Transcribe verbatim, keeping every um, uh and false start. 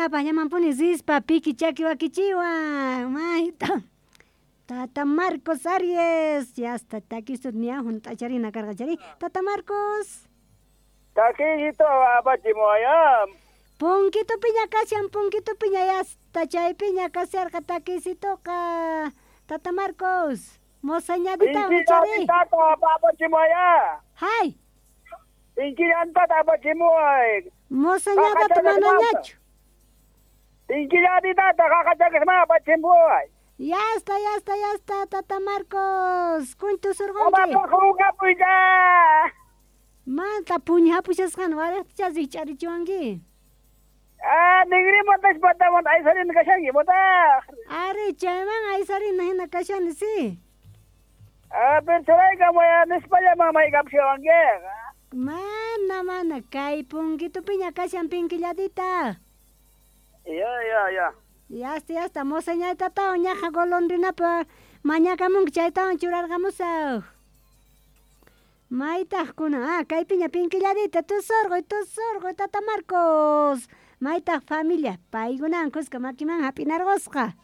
Ñapaqllamanpuni rispa piki chaki wakichiwan mayta Tata Marcos Aries yasta takisut ña hunt'acharina karqa chari Tata Marcos Takiyito apachimuaya. Punkito piña kashan punkito piña yasta chaypiña kasharqa takisitoqa Tata Marcos mozañadita wichari Tata apachimuaya. Hay Inkillantata apachimuay. Mozañadata manañachu. Inkillatitata qaqachakisma apachimuay. Ya está, ya está, ya está, Tata Marcos. Kuntu surqunki. Manta puñapushasqan waraqcha rikch'arichiwanki. Ah, ningrimantas pataman aysarina kashanki, botaq. Ari, chayman aysarina hina kashani, sí. Ah, pero churaykamaya nispalla mamaykapushawangkiqa. Mana, mana, kay punkitupiña kashan pinkilladita. Ya, ya, ya. Ya está, ya está, mozañaytatawan ñaqa golondrinapa mañakamunki chaytawan churarqamusaq. Maytaq kuna, ah, kaypiña pinkilladita, tusurquy, tusurquy, Tata Marcos. Maytaq familia, paykunawan kuska makiman hap'inarqusqa.